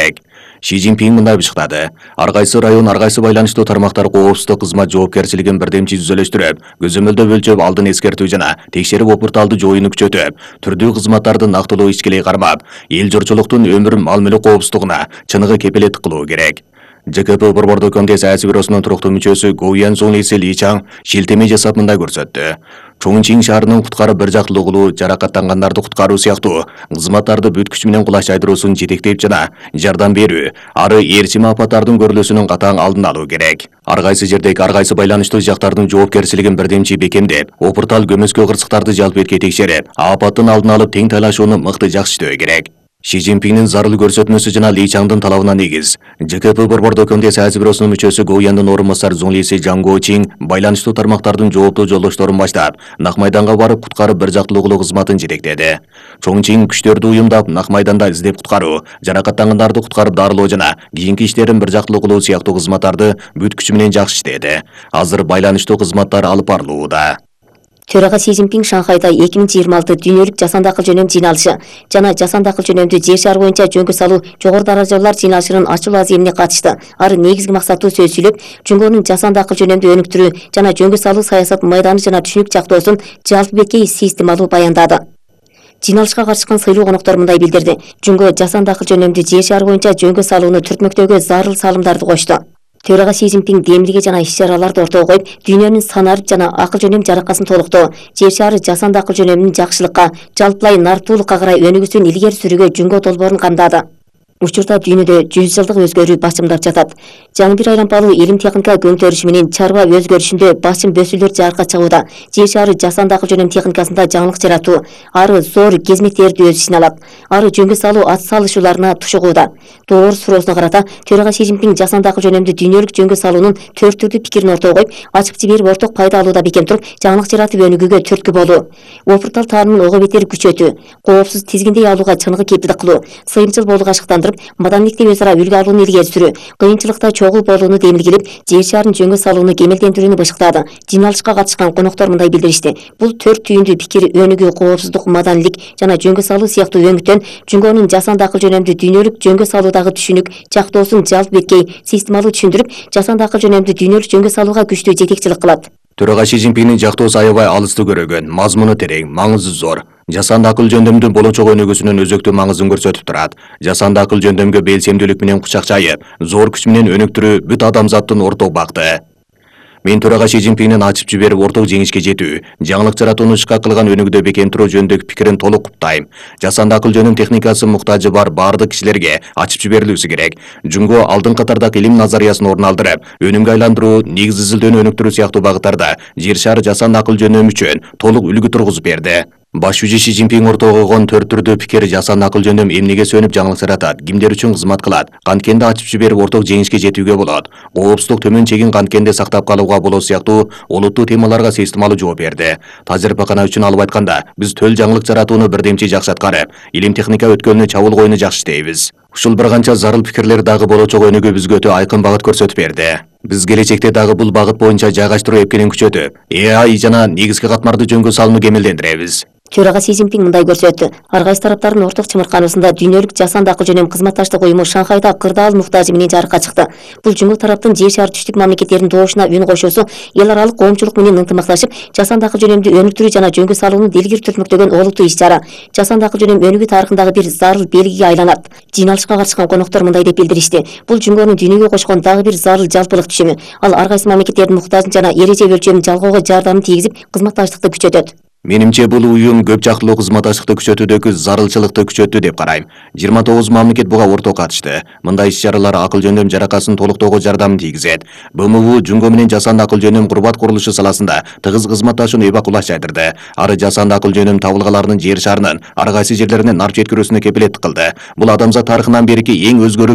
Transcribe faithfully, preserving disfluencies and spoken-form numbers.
керек. Ши Цзиньпин мындай бышыктады. Ар кайсы район, ар кайсы байланыштуу тармактар коопсуздук кызмат жоопкерчилигин бирдемчи түзөлөштүрүп, көзөмөлдөө өлчөп, алдын эскертүү жана текшерип опурталды жоюуну күчөтүп, түрдүү кызматтарды нактылуу ичкилей кармап, эл журчулуктун өмүр мал-мүлк коопсуздугуна чыныгы кепилеттик кылуу керек. ЖКП Борбордук Комитет саясий бюросунун туруктуу мүчөсү Гоу Янсун Ли Ли Чаң шилтеме жасап мындай көрсөттү. Чоңчин шаарынын куткарып бир жактылуу кылуу, жаракаттангандарды куткаруу сыяктуу кызматтарды бүт күч менен кулаш жайдыруусун жетектеп жана жардам берүү, ары ээрчим апаттардын көрүлүүсүнүн катаң алдын алуу керек. Ар кайсы жердеги ар кайсы байланыштуу жактардын жоопкерчилигин бирдемчи бекемдеп, опуртал көмөскө кырсыктарды жалп этке текшерип, апаттын алдын алып тең талашууну мыкты жакшытөө керек. Ши Цзиньпиндин зарыл көрсөтмөсү жана Ли Чаңдын талабына негиз ЖКП Борбордук Комитет саясий бюросунун мүчөсү Гоу Яндын орун басары Зунлиси Жаңго Чин байланыштуу тармактардын жооптуу жолдошторун баштап, Нак майданга барып куткарып бир жактылуу кылуу кызматын жетектеди. Чоңчин күчтөрдү уюмдап, Нак майданда издеп куткаруу, жаракаттангандарды куткарып дарылоо жана кийинки иштерин бир жактылуу кылуу сыяктуу кызматтарды бүт күчү менен жакшы иштеди. Азыр байланыштуу кызматтар алып барылууда. Төрага Си Цзиньпин Шанхайда эки миң жыйырма алты дүйнөлүк жасанды акыл жөнөм жыйналышы жана жасанды акыл жөнөмдү жер шары боюнча жөнгө салуу жогору даражалуулар жыйналышынын ачылуу аземине катышты. Ары негизги максаттуу сөз сүйлөп, Жөнгөнүн жасанды акыл жөнөмдү өнүктүрүү жана жөнгө салуу саясат майданы жана түшүнүк жактоосун жалпы беткей системалуу баяндады. Жыйналышка катышкан сыйлуу коноктор мындай билдирди. Жөнгө жасанды акыл жөнөмдү жер шары боюнча жөнгө салууну түртмөктөөгө зарыл салымдарды кошту. Төрага Си Цзиньпин демилге жана иш-чараларды ортого коюп, дүйнөнүн санарып жана акыл жөнөм жаракасын толуктоо, жер шары жасанды акыл жөнөмүнүн жакшылыкка, жалпылай нартуулукка карай өнүгүүсүн илгери сүрүүгө жөнгө долбоорун камдады. Учурда дүйнөдө жүз жылдык өзгөрүү басымдап жатат. Жаңы бир айлампалуу илим техника көңтөрүшү менен чарба өзгөрүшүндө басым бөсүүлөр жарыкка чыгууда. Жер шары жасанды акыл жөнөм техникасында жаңылык жаратуу, ары зор кезмектерди өз ичине алат. Ары жөнгө салуу ат салышууларына тушугууда. Доор суроосуна карата, Төрага Си Цзиньпин жасанды акыл жөнөмдү дүйнөлүк жөнгө салуунун төрт түрдүү пикирин ортого коюп, ачып жиберип орток пайда алууда бекем туруп, жаңылык жаратып өнүгүүгө түрткү болуу, опуртал таанымын ого бетер күчөтүү, коопсуз тизгиндей алууга чыныгы кепилдик кылуу, сыйымчыл болууга ашыктандырып, маданилекте өз ара үлгү алууну илгери сүрүү, кыйынчылыкта чогуу болууну демилгелеп, жер шарын жөнгө салууну кемелдендирүүнү бышыктады. Жыйналышка катышкан коноктор мындай билдиришти. Бул төрт түйүндүү пикир өнүгүү, коопсуздук, маданилик жана жөнгө салуу сыяктуу өңүттөн Жөнгөнүн жасанды акыл жөнөмдү дүйнөлүк жөнгө салуудагы түшүнүк, жактоосун жалпы беткей, системалуу түшүндүрүп, жасанды акыл жөнөмдү дүйнөлүк жөнгө салууга күчтүү жетекчилик кылат. Төрага Ши Цзиньпиндин жактоосу аябай алысты көрөгөн, мазмуну терең, маңызы зор. Жасанды акыл жөндөмдүн болочок өнүгүүсүнүн өзөктүү маңызын көрсөтүп турат. Жасанды акыл жөндөмгө белсемдүүлүк менен кучакчайып, зор күч менен өнүктүрүү бүт адамзаттын орток бакыты. Мен Төрага Ши Цзиньпиндин ачып жиберип орток жеңишке жетүү, жаңылык жаратууну ишке кылган өнүгүүдө бекем туруу жөнүндөгү пикирин толук куптайм. Жасанды акыл жөнөм техникасы муктажы бар баардык кишилерге ачып жиберилүүсү керек. Жөнгө алдын катардагы илим назариясын орун алдырып, өнүмгө айландыруу, негиз изилдөөнү өнүктүрүү сыяктуу багыттарда жер шары жасанды акыл жөнөм үчүн толук үлгү тургузуп берди. Баш жүзү Ши Цзиньпин ортого койгон төрт түрдүү пикир жасанды акыл жөндөм эмнеге сөнүп жаңылык жаратат, кимдер үчүн кызмат кылат, канткенде ачып жиберип орток жеңишке жетүүгө болот, коопсуздук төмөн чегин канткенде сактап калууга болот сыяктуу олуттуу темаларга системалуу жооп берди. Тажрыйбакана үчүн алып айтканда, биз төл жаңылык жаратууну бирдемчи жакшы аткарып, илим техника өткөлүнө чабуул коюуну жакшы иштейбиз. Ушул бир канча зарыл пикирлер дагы болочок өнүгүү бизге өтө айкын багыт көрсөтүп берди. Биз келечекте дагы бул багыт боюнча жайгаштыруу эпкенин күчөтүп, Э А I жана негизги катмарды жөнгө салууну кемелдендиребиз. Төрага Си Цзиньпин мындай көрсөттү. Ар кайсы тараптардын орток чымыркануусунда дүйнөлүк жасанды акыл жөнөм кызматташтык уюму Шанхайда кырдаал муктажы менен жарыкка чыкты. Бул жуму тараптын жер шары түштүк мамлекеттеринин добушуна үн кошуусу, эл аралык коомчулук менен ынтымакташып, жасанды акыл жөнөмдү өнүктүрүү жана жөнгө салууну делгир түртмөктөгөн олуттуу иш-чара. Жасанды акыл жөнөм өнүгүү тарыхындагы бир зарыл белгиге айланат. Жыйналышка катышкан коноктор мындай деп билдиришти. Бул жөнгөнүн дүйнөгө кошкон дагы бир зарыл жалпылык түшүмү. Ал ар кайсы мамлекеттердин муктажын жана эреже өлчөмүн жалгоого жардамын тийгизип, кызматташтыкты күчөтөт. Менимче бул уюм көп жактылуу кызматташтыкты күчөтүүдөгү зарылчылыкты күчөттү деп карайм. жыйырма тогуз мамлекет буга орток катышты. Мындай иш-чаралар акыл жөндөм жаракасын толуктоого жардамын тийгизет. Б М У жөнгө менен жасанды акыл жөнөм курбат курулушу саласында тыгыз кызматташууну эбак кулаш жайдырды. Ары жасанды акыл жөнөм табылгаларынын жер шарынын ар кайсы жерлерине нарп жеткирүүсүнө кепилеттик кылды. Бул адамзат тарыхынан берки эң өзгөрүмдүү